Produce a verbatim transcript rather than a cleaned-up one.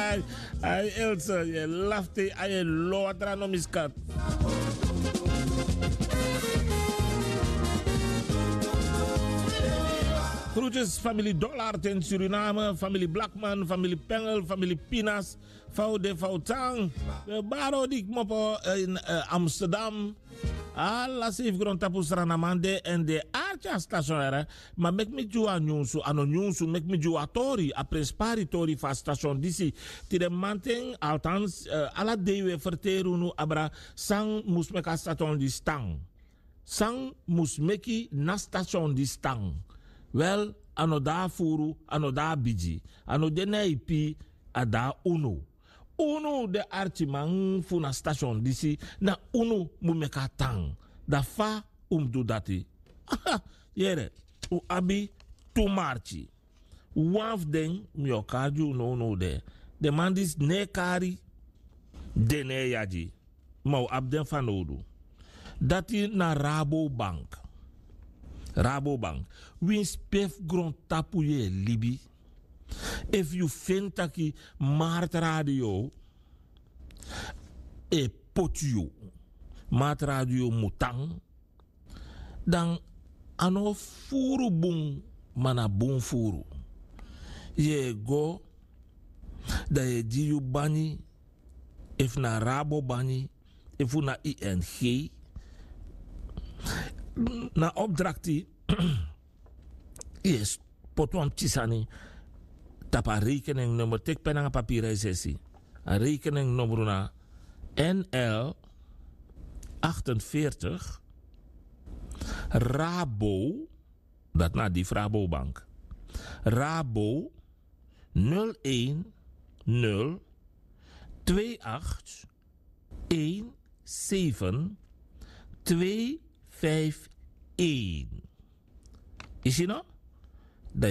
Ai, ai, Else, yu e lafte, ai, e lo watra no miskat. Groetjes, familie Dollard in Suriname, familie Blackman, familie Pengel, familie Pinas, Faude Fautang, eh, Baro di Kmopo, eh, in, eh, Amsterdam. Ala seif grondtapu Sranamande en de arki a station, ma meki mi gi wan nyunsu, a no nyunsu, meki mi gi wan tori, a prenspari tori fu a station disi. Tide mamanten, althans, eh, ala dei wi e ferteri unu abra san mus meki a station disi tan. San mus meki na station disi tan. Wel, a no de a furu, a no de a bigi, a no de na ipi, a de a unu. Unu de arkiman fu na station disi, na unu mu meki a tan. Da fa un mus du dati? Yere, un abi tu marki. Wan fu den mi o kari gi un nownow de. Den man disi no e kari, den no e yagi. Ma un abi den fanowdu. Dati na Rabobank. Rabobank. Winsi pe fu grontapu yu e libi, efu yu feni taki Markt Radio e poti yu, Markt Radio mu tan, dan a no furu bun, ma na bun furu. Yu e go, dan yu e gi yu banyi, efu na Rabobank, efu na I N G. Na opdrakti, yu e poti wan pikin sani tapu a rekeningnummer, teki pen nanga papiri, yu e si. A rekeningnummer na N L achtenveertig, Rabo, dat na di fu Rabobank. Rabo nul een nul twee acht een zeven twee vijf een. Yu si no?